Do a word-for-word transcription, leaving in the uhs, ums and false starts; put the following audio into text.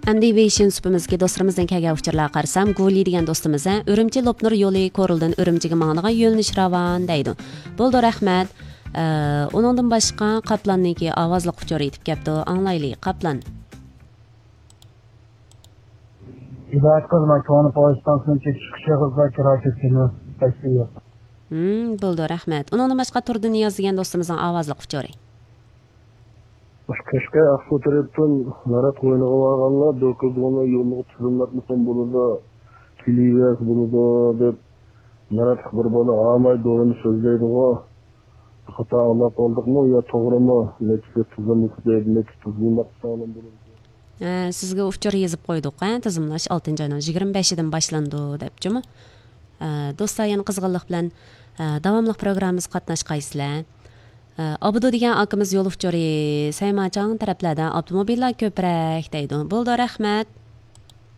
ئەمدى ۋېيشىن سۇپىمىزدىكى دوستلىرىمىزدىن كەلگەن ئۇچۇرلارغا قارىسام، گۇلى دېگەن دوستىمىز، ھە، ئۈرۈمچى لوپنۇر يولى كورلىدىن ئۈرۈمچىگە ماڭىدىغان يۆنىلىش راۋان دەيدۇ. بولىدۇ، رەھمەت. ئە، ئۇنىڭدىن باشقا قاپلاننىڭكى ئاۋازلىق ئۇچۇرى يېتىپ كەپتۇ. ئاڭلايلى، قاپلان. ھىدايەت قىلما كۆڭلى پويىستانسىنىڭ چېكىش قىشىغىزدا كىرا كەتكىنى تەسۋىيە. ھىم، بولىدۇ، رەھمەت. ئۇنىڭدىن باشقا تۇردى نىياز دېگەن دوستىمىزنىڭ ئاۋازلىق ئۇچۇرى. مۇشۇ قەشقەر ئاقسۇ تەرەپتىن نارات قوينىغا بارغانلار دۆكۈلدىغانلار يولىغا تىزىملاتمىسام بولىدۇ، كېلىۋەرسە بولىدۇ دەپ ناراتلىق بىر بالا ھاماي دورىنى سۆزلەيدىغۇ. خاتا ئاڭلاپ قالدۇقمۇ يا توغرىمۇ؟ نەچچە تىزىملىق دەيدۇ، نەچچە تىزىملىق ساغلام بولىدۇ. ھە، سىزگە ئۇچۇر يېزىپ قويدۇق، ھە، تىزىملاش ئالتىنچى ئاينىڭ يىگىرمە بەشىدىن باشلىنىدۇ دەپچۇمۇ؟ ھە، دوستلار يەنە قىزغىنلىق بىلەن، ھە، داۋاملىق پروگراممىمىزغا قاتناشقايسىلەر. ھە، ئابدۇ دېگەن ئاكىمىز يول ئۇچۇرى سەيماچاڭ تەرەپلەردە ئاپتوموبىللار كۆپرەك دەيدۇ. بولىدۇ، رەھمەت.